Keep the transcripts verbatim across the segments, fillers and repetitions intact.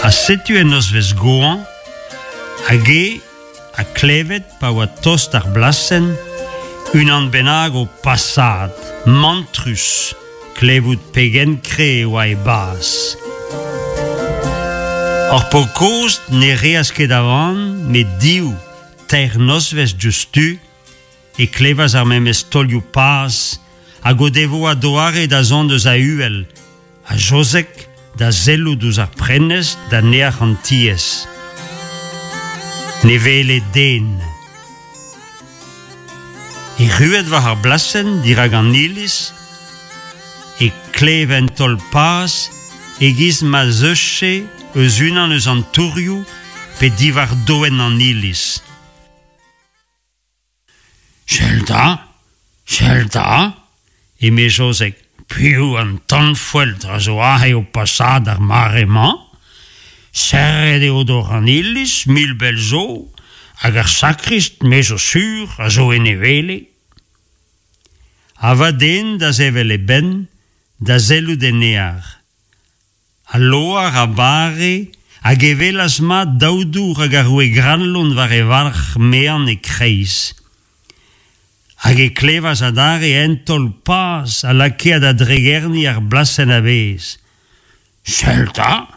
Ha setu en nozvezh goañv, hag e ha klevet pa oa tost ar blasenn, unan bennak o pasaat, mantrus, klevout pegen kre e oa e baz. Ar paotr kozh ne reas ket a van, met div, teir nozvezh diouzhtu, e klevas ar memes taolioù paz hag o devoa doare da zont eus a-uhel, ha Jozeg da sellout ouzh ar prenestr da neac'h an tiez. Ne wele den. Erruet war ar blasenn dirak an iliz, e klev un taol paz e-giz ma zeufe eus unan eus an tourioù pe diwar doenn an iliz. Sell 'ta, sell 'ta, eme Jozeg, piv an tanfoeltr a zo aze o pasaat d'ar mare-mañ? Serret eo dor an iliz, mil bell zo, hag ar sakrist, me zo sur, a zo en e wele. Ha va den da sevel e benn, da sellout en neac'h. Al loar a bare hag e welas mat daou dour hag ar roue Granlon war e varc'h mean e-kreiz. Hag e klevas adarre un taol paz a lakae da dregerniñ ar blasenn a-bezh. Sell 'ta,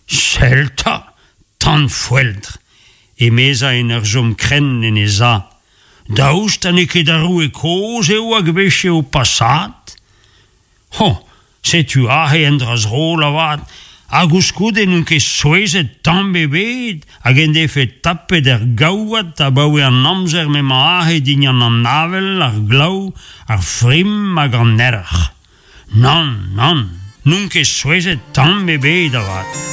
sell 'ta, tanfoeltr, emezañ en ur chom krenn en e sav. Daoust ha n'eo ket ar roue kozh eo hag vefe o pasaat? Ho, setu aze un dra zrol avat, ha koulskoude n'on ket souezhet tamm ebet hag en defe tapet er gaouad abaoe an amzer m'emañ aze dindan an avel, ar glav, ar frim hag an erc'h. Nann, nann, n'on ket souezhet tamm ebet avat.